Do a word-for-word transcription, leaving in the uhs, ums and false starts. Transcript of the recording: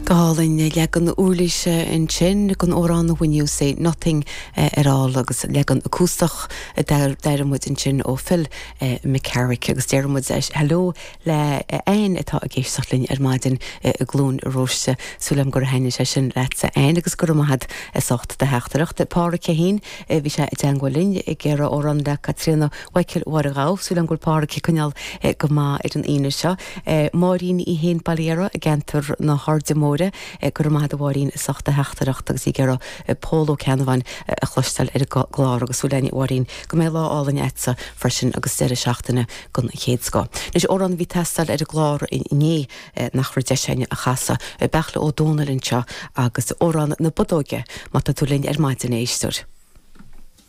Go hálainn leagan uirlise ansin den amhrán When You Say Nothing at All agus leagan acústach d'airigh muid ansin ó Phil McCarrick agus deir muid hello le Ann atá ag éisteacht linn ar maidin i gCluain Róiste súil agam gur thaitin sé sin leatsa Ann agus go raibh maith agat as ucht do theachtaireacht. Pádraig féin bhí sé i dteagmháil linn ag iarraidh amhrán le Caitríona Mhichael Mháire Ghabh súil agam go bhfuil Pádraig ag coinneáil go maith ar an Aoine seo. Máirín í héin Bailera i gceantar na hAirde Móire go raibh maith agat a Mháirín as ucht do theachtaireacht agus í ag iarraidh Pól Ó Ceannabháin a chloisteáil ar an gclár agus súil againn a Mháirín go mbeidh lá álainn agatsa freisin agus deireadh seachtaine den chéad scoth. Anois amhrán a bhí ag teastáil ar an gclár inné nach raibh deis againn a chasadh Beartla Ó Dónaill anseo agus amhrán na Bodóige má tá tú linn ar maidin a éisteoir.